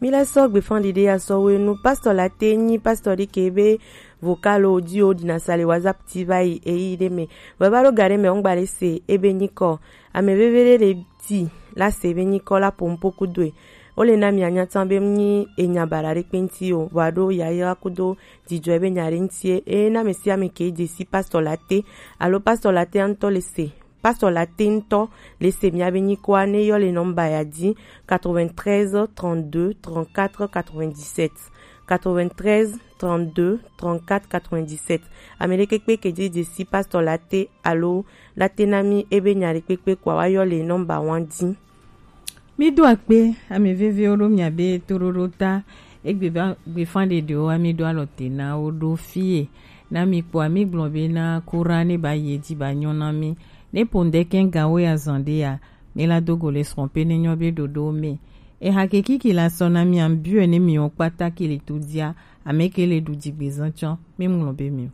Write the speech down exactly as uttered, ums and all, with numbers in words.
Mi la sɔ gbefan ɖiɖe ya sɔ wenu. Pastor la te nyi pastor ɖi ke be vocal o di o dina sa le WhatsApp ti va yi eyi ɖe me. Wɛ va ɖo ga ɖe me ŋgba ɖe se ebe nyi kɔ. Ame veve ɖe ɖe ti la se be nyi kɔ la po ŋpo kudo e. O le na mi anya tan be nyi enya baɖa ɖe kpe ŋti o. Wa ɖo yayra kudo dzidzɔ ebe nya ɖe ŋti e. E na me si ame ke dze si pastor la te. Alo pastor la te ŋtɔ le se. Pastor la te ŋtɔ le se mia be nyikoa ne yɔ le nɔmba ya dzi quatre-vingt-treize trente-deux trente-quatre quatre-vingt-dix-sept, quatre-vingt-treize trente-deux trente-quatre quatre-vingt-dix-sept. Ame ɖe kpekpe ke dzi dze si pastor la te alo la te na mi ebe nya ɖe kpekpe kua wa yɔ le nɔmba wan dzi. Mi do akpe ame vevewo ɖo mia be toɖoɖo ta egbe ba gbefan ɖeɖewo wa mi ɖo alɔ te na wo ɖo fie. Na mi kpɔa mi gblɔ be na kura ne ba yi edzi ba nyɔ na mi. Ne po ŋdɛkɛ gawo ya zan ɖe ya, mi la do go le srɔ̃ pe ne nyɔ be ɖoɖo me. Eha ke kiki la sɔ na mi ambiɔe ne mi wo kpata ke le to dia, ame ke le ɖu dzigbezã tsɔ, mi ŋlɔ be mi o.